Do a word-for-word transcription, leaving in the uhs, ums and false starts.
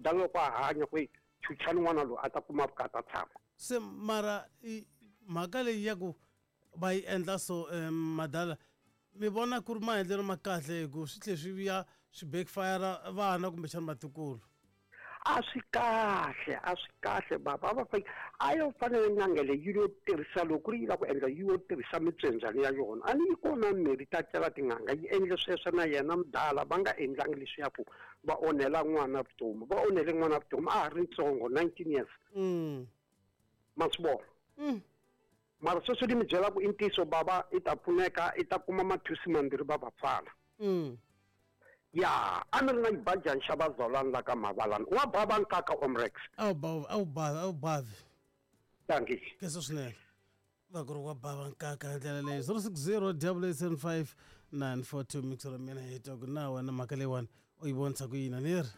Mudala loko a hanya ku chuchani n'wana loyi a ta kuma vukati a tshama. Se mara i mhaka leyi ya ku va yi endla so um madala mi vona ku ri maendlelo ma kahle hi ku swi tlhe swi vuya swi backfire vana kumbexana vatukulu. A swi kahle, a swi kahle baba. A va fa a yo fanele n'anga leyi yi lo tirhisa loko ku ri yi lava ku endla yi yo tirhisa mitswendzwana ya yona. A ni yi kona mirhi ta cela tin'anga yi endle sweswo na yena mudala va nga endlangi leswiya ku va onhela n'wana vutomi. Va onhele n'wana vutomi a ha ri ntsongo nineteen years. Mm. Ma swi vona? Mm. Mara sweswi ni mi byela ku i ntiyiso baba i ta pfuneka i ta kuma mathusi mambirhi va va pfala. Mm. Ya, a ni ri na xibajani xa vazalwana la ka Mavalani. Wa bava nkaka Omrex. A wu bavi, a wu bavi, a wu bavi. Dankie. Khensa swinene. Va ku ri wa bava nkaka hi ndlela leyi. zero six zero double eight seven five nine four two mixer mina hi twa ku na wena mhaka leyiwani u yi vonisa ku yini a ni ri?